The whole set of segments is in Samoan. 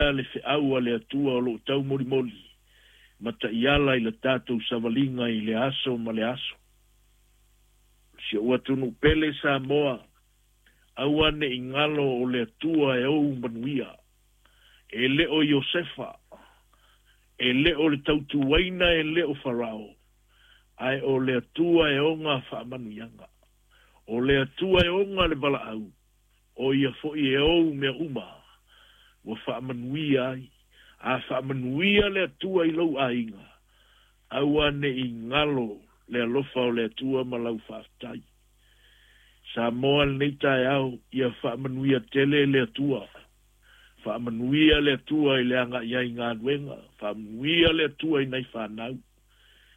maea le feau a le Atua o lo o taumolimoli ma taiala i le tatou savaliga i le aso ma le aso. Si ou atunuu pele Samoa, aua ne i galo o le Atua e ou manuia. E le o Iosefa, e le o le tautuaina, e le o Farao, ae o le Atua e ona faamanuiaga. O le Atua e ona le valaau, o ia foi e ou mea uma ua faamanuia ai. A faamanuia le Atua i lou aiga, aua ne i galo le alofa o le Atua ma lau faafetai. Samoa lenei taeao, ia faamanuia tele le Atua. Faamanuia le Atua i le agai ai i galuega. Faamanuia le Atua i nai fanau.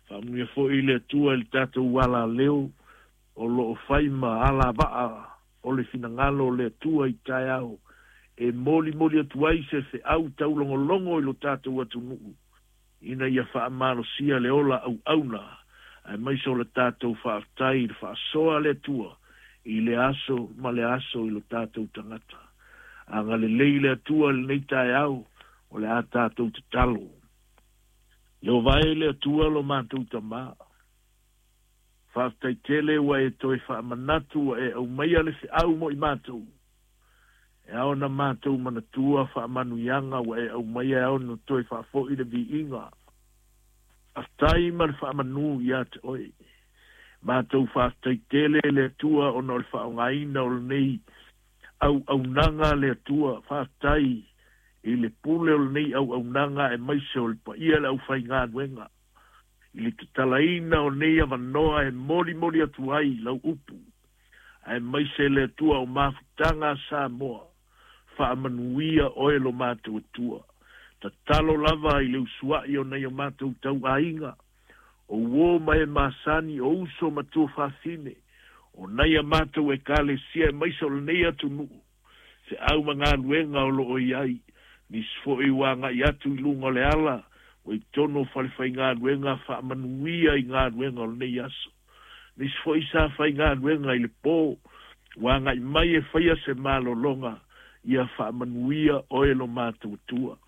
Faamanuia foi le Atua i le tatou alaleo o lo o fai ma alavaa o le finagalo o le Atua i taeao e molimoli atu ai se feau taulogologo i lo tatou atunuu ina ia faamalosia le ola auauna, aemaise o le tatou faafetai i le faasoa a le Atua i le aso ma le aso i lo tatou tagata. Agalelei le Atua i lenei taeao, o le a tatou tatalo. Ieova e le Atua lo matou Tama, faafetai tele ua e toe faamanatu ua e aumaia le feau mo i matou. E ao ona matou manatua faamanuiaga ua e aumaia e ao ona toe faafoi le viiga. Faafetai ma le faamanu ia te oe. Matou faafetai tele le Atua ona o le faaaogaina o lenei auaunaga a le Atua. Faafetai i le pule o lenei auaunaga aemaise o le paia o le aufaigaluega i le tatalaina o nei avanoa e molimoli atu ai lau upu, aemaise le Atua o mafutaga a Samoa. Faamanuia oe lo matou Atua. Tatalo lava i le usuai o nai o matou tauaiga, o uo ma e masani, o uso ma tuafafine, o nai a matou ekalesia aemaise o lenei atunuu, feau ma galuega o lo o i ai, nisi foi ua agai atu i luga o le ala, ua i totonu o falefaigaluega, faamanuia i galuega o lenei aso. Nisi foi sa faigaluega i le po, ua agai mai e faia se malologa, ia faamanuia oe lo matou Atua.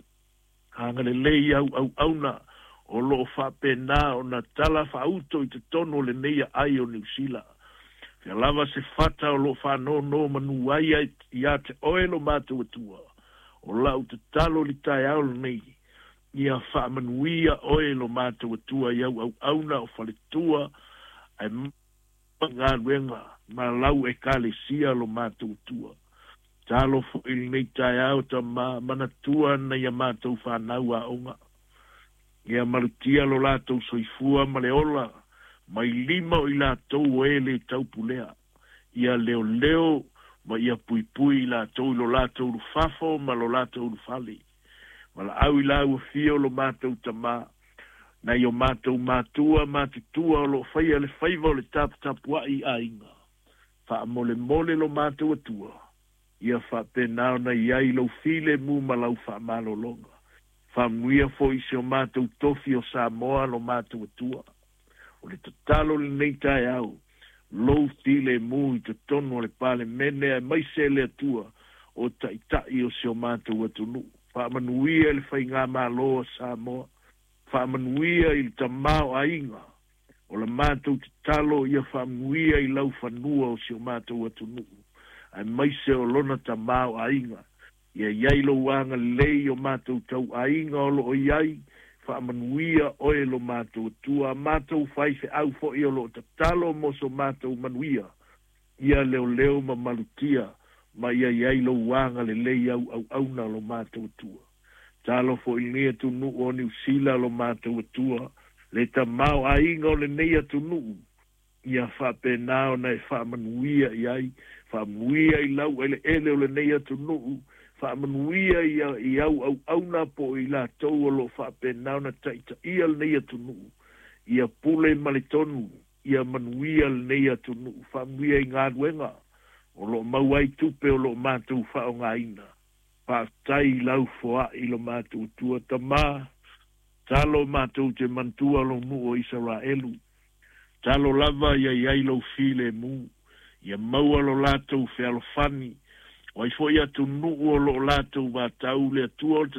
Agalelei i au auauna o lo o faapena ona tala faauto i totonu o lenei aai o Niu Sila. Fea lava se fata o lo o faanonomanu ai ia te oe lo matou Atua, o lau tatalo i le taeao lenei, ia faamanuia oe lo matou Atua i au auauna o faletua ae galuega ma lau ekalesia lo matou Atua. Talo foi lenei taeao Tama, manatua nai a matou fanau aoga. Ia malutia lo latou soifua ma le ola, mai lima o i latou o e le taupulea. Ia leoleo ma ia puipui i latou i lo latou ulufafo ma lo latou ulufale. Valaau i lau afio lo matou Tama, nai o matou matua matutua o lo o faia le faiva o le taputapuai i aiga. Faamolemole lo matou Atua, ia faapena ona i ai lou filemu ma lau faamalologa. Faamanuia foi si o matou tofi o Samoa lo matou Atua. O le tatalo lenei taeao, lou filemu i totonu o le Palemene aemaise le Atua o taitai o si o matou atunuu. Faamanuia i le faigamalo a Samoa. Faamanuia i le tamaoaiga o la matou tatalo, ia faamanuia i lau fanua o si o matou atunuu, aemaise o lona tamaoaiga. Ia i ai lou agalelei o matou tauaiga o lo o i ai, faamanuia oe lo matou Atua. A matou faifeau foi o lo o tatalo mo so matou manuia, ia leoleo ma malutia, ma ia i ai lou agalelei au auauna lo matou Atua. Talo foi lenei atunuu o Niu Sila lo matou Atua, le tamaoaiga o lenei atunuu, ia faapena ona e faamanuia i ai, faamanuia i lau eleele o lenei atunuu, faamanuia i au auauna po o i latou o lo o faapena ona taitaia lenei atunuu, ia pule ma le tonu, ia manuia lenei atunuu, faamanuia i galuega o lo o maua ai tupe o lo o matou faaaogaina. Faafetai i lau foai lo matou Atua. Tama, talo matou te manatua lou nuu o Isaraelu. Talo lava ia i ai lou filemu, ia maua lo latou fealofani, o ai foi atunuu o lo o latou vatau le Atua o le